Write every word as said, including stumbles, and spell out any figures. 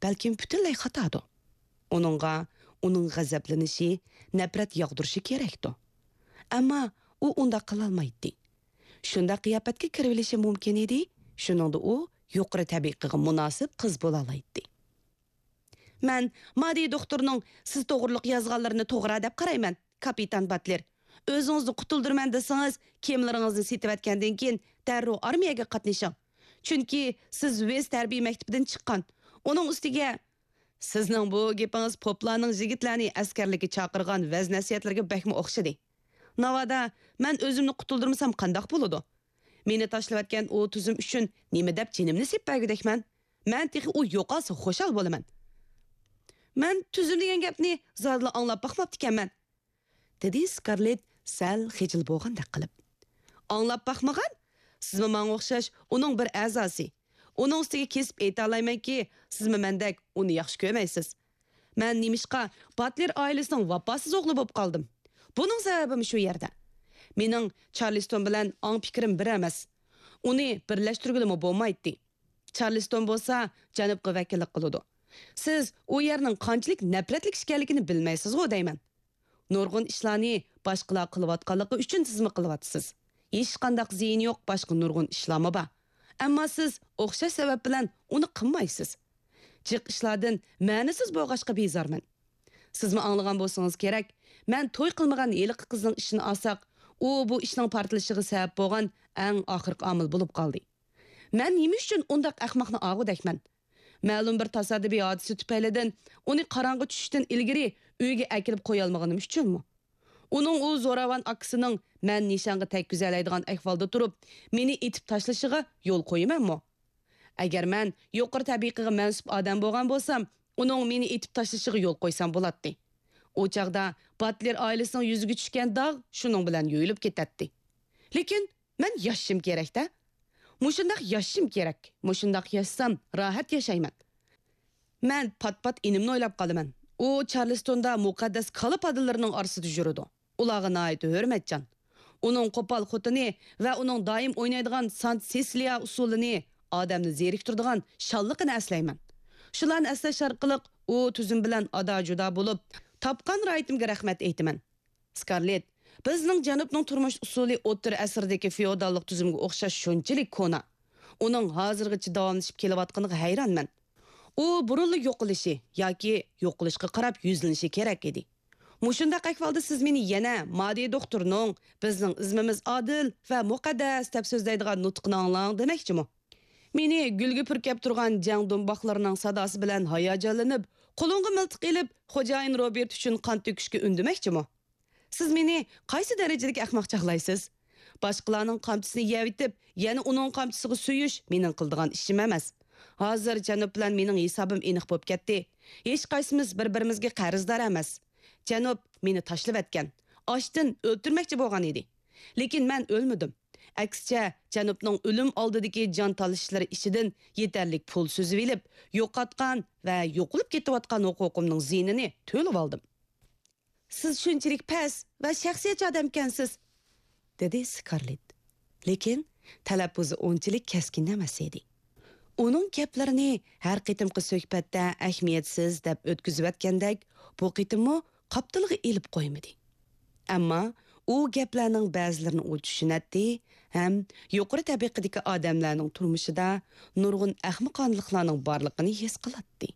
بەلكىم پۈتۈنلەي خاتادۇ. ئۇنىڭغا ئۇنىڭ غەزەپلىنىشى، نەپرەت ياغدۇرۇشى كېرەكتۇ. ئەمما ئۇ ئۇنداق قىلالمايتتى. شۇنداق قىياپەتكە كىرىۋېلىشى مۇمكىن ئىدى، شۇنىڭدا ئۇ يۇقىرى تەبىقىگە مۇناسىپ قىز بولالايتتى. مەن مادى دوختۇرنىڭ سىز توغرۇلۇق يازغانلىرىنى توغرا دەپ قارايمەن، كاپىتان باتلېر. ئۆزىڭىزنى قۇتۇلدۇرىمەن دېسىڭىز، كېمىلىرىڭىزنى سېتىۋەتكەندىن كېيىن دەررۇ ئارمىيەگە قاتنىشىڭ. چۈنكى سىز ۋېز ھەربىي مەكتىپىدىن چىققان. ئۇنىڭ ئۈستىگە، سىزنىڭ بۇ گېپىڭىز پوپلارنىڭ يىگىتلەرنى ئەسكەرلىككە چاقىرغان ۋەز-نەسىھەتلىرىگە بەكمۇ ئوخشىدى. ناۋادا مەن ئۆزۈمنى قۇتۇلدۇرمىسام قانداق بولىدۇ؟ مېنى تاشلىۋەتكەن ئۇ تۈزۈم ئۈچۈن نېمە دەپ جېنىمنى سېلىپ بەرگۈدەكمەن؟ مەن تېخى ئۇ يوقالسا خۇشال بولىمەن. مەن تۈزۈم دېگەن گەپنى زادىلا ئاڭلاپ باقماپتىكەنمەن، دېدى سكارلېت سەل خىجىل بولغاندەك قىلىپ. ئاڭلاپ باقمىغان؟ سىزمۇ ماڭا ئوخشاش ئۇنىڭ بىر ئەزاسى. ئۇنىڭ ئۈستىگە كېسىپ ئېيتالايمەنكى، سىزمۇ مەندەك ئۇنى ياخشى كۆرمەيسىز. مەن نېمىشقا باتلېر ئائىلىسىنىڭ ۋاپاسىز ئوغلى بولۇپ قالدىم؟ بۇنىڭ سەۋەبىمۇ شۇ يەردە. مېنىڭ چارلىستون بىلەن ئاڭ پىكرىم بىر ئەمەس. ئۇنى بىرلەشتۈرگىلىمۇ بولمايتتى. چارلىستون بولسا جەنۇبقا ۋەكىللىك قىلىدۇ. سىز ئۇ يەرنىڭ قانچىلىك نەپرەتلىك ئىكەنلىكىنى بىلمەيسىزغۇ دەيمەن. نۇرغۇن ئىشلارنى باشقىلار قىلىۋاتقانلىقى ئۈچۈن سىزمۇ قىلىۋاتىسىز. ھېچقانداق زىيىنى يوق باشقا نۇرغۇن ئىشلارمۇ بار. ئەمما سىز ئوخشاش سەۋەب بىلەن ئۇنى قىلمايسىز. جىق ئىشلاردىن مەنىسىز بولغاچقا بىزارمەن. سىزمۇ ئاڭلىغان بولسىڭىز كېرەك، مەن توي قىلمىغان ھېلىقى قىزنىڭ ئىشىنى ئالساق، ئۇ بۇ ئىشنىڭ پارتلىشىشىغا سەۋەب بولغان ئەڭ ئاخىرقى ئامىل بولۇپ قالدى. مەن نېمە ئۈچۈن ئۇنداق ئەخمەقنى ئاغۇدەكمەن؟ مەلۇم بىر تاسادىپىي ھادىسە تۈپەيلىدىن ئۇنى قاراڭغۇ چۈشۈشتىن ئىلگىرى ئۆيگە ئەكېلىپ قويالمىغىنىم ئۈچۈنمۇ؟ ئۇنىڭ ئۇ زوراۋان ئاكىسىنىڭ مەن نىشانغا تەگكۈزەلەيدىغان ئەھۋالدا تۇرۇپ، مېنى ئېتىپ تاشلىشىغا يول قويىمەنمۇ؟ ئەگەر مەن يۇقىرى تەبىقىگە مەنسۇپ ئادەم بولغان بولسام، ئۇنىڭ مېنى ئېتىپ تاشلىشىغا يول قويسام بولاتتى. ئۇ چاغدا باتلېر ئائىلىسىنىڭ يۈزىگە چۈشكەن داغ شۇنىڭ بىلەن يۇيۇلۇپ كېتەتتى. لېكىن مەن ياشىشىم كېرەك-دە. مۇشۇنداق ياشىشىم كېرەك. مۇشۇنداق ياشىسام، راھەت ياشايمەن. مەن پات-پات ئىنىمنى ئويلاپ قالىمەن. ئۇ چارلىستوندا مۇقەددەس كالا پادىلىرىنىڭ ئارىسىدا يۈرىدۇ. ئۇلارغا ناھايىتى ھۆرمەتچان. ئۇنىڭ قوپال خوتۇنى ۋە ئۇنىڭ دائىم ئوينايدىغان سانت سېسىلىيا ئۇسسۇلىنى، ئادەمنى زېرىكتۈرىدىغان شاللىقىنى ئەسلەيمەن. شۇلارنى ئەسلەش ئارقىلىق ئۇ تۈزۈم بىلەن ئادا-جۇدا بولۇپ، تاپقان راھىتىمگە رەھمەت ئېيتىمەن. سكارلېت، بىزنىڭ جەنۇبنىڭ تۇرمۇش ئۇسۇلى ئوتتۇرا ئەسىردىكى فېئوداللىق تۈزۈمگە ئوخشاش شۇنچىلىك كونا. ئۇنىڭ ھازىرغىچە داۋاملىشىپ كېلىۋاتقىنىغا ھەيرانمەن. ئۇ بۇرۇنلا يوقىلىشى ياكى يوقىلىشقا قاراپ يۈزلىنىشى كېرەك ئىدى. مۇشۇنداق ئەھۋالدا سىز مېنى يەنە مادى دوختۇرنىڭ «بىزنىڭ ئىزمىمىز ئادىل ۋە مۇقەددەس» دەپ سۆزلەيدىغان نۇتقىنى ئاڭلاڭ دېمەكچىمۇ؟ مېنى گۈلگە پۈركەپ تۇرغان جەڭ دۇمباقلىرىنىڭ ساداسى بىلەن ھاياجانلىنىپ، قولۇڭغا مىلتىق ئېلىپ، خوجايىن روبېرت ئۈچۈن قان تۆكۈشكە ئۈندىمەكچىمۇ؟ سىز مېنى قايسى دەرىجىدىكى ئەخمەق چاغلايسىز؟ باشقىلارنىڭ قامچىسىنى يەۋېتىپ، يەنە ئۇنىڭ قامچىسىغا سۆيۈش مېنىڭ قىلىدىغان ئىشىم ئەمەس. ھازىر جەنۇب بىلەن مېنىڭ ھېسابىم ئېنىق بولۇپ كەتتى. ھېچقايسىمىز بىر-بىرىمىزگە قەرزدار ئەمەس. جەنۇب مېنى تاشلىۋەتكەن. ئاشتىن ئۆلتۈرمەكچى بولغان ئىدى. لېكىن مەن ئۆلمىدىم. ئەكسىچە، جەنۇبنىڭ ئۆلۈم ئالدىدىكى جان تالىشىشلىرى ئىچىدىن يېتەرلىك پۇل سۈزۈۋېلىپ، يوقاتقان ۋە يوقىلىپ كېتىۋاتقان ھوقۇقۇمنىڭ زىيىنىنى تۆلىۋالدىم. سىز شۇنچىلىك پەس ۋە شەخسىيەتچى ئادەمكەنسىز، دېدى سكارلېت. لېكىن تەلەپپۇزى ئۇنچىلىك كەسكىن ئەمەس ئىدى. ئۇنىڭ گەپلىرىنى ھەر قېتىمقى سۆھبەتتە ئەھمىيەتسىز دەپ ئۆتكۈزۈۋەتكەندەك، بۇ قېتىممۇ قاپتىلىغا ئېلىپ قويمىدى. ئەمما ئۇ گەپلەرنىڭ بەزىلىرىنى ئۇ چۈشىنەتتى ھەم يۇقىرى تەبىقىدىكى ئادەملەرنىڭ تۇرمۇشىدا نۇرغۇن ئەخمىقانىلىقلارنىڭ بارلىقىنى ھېس قىلاتتى.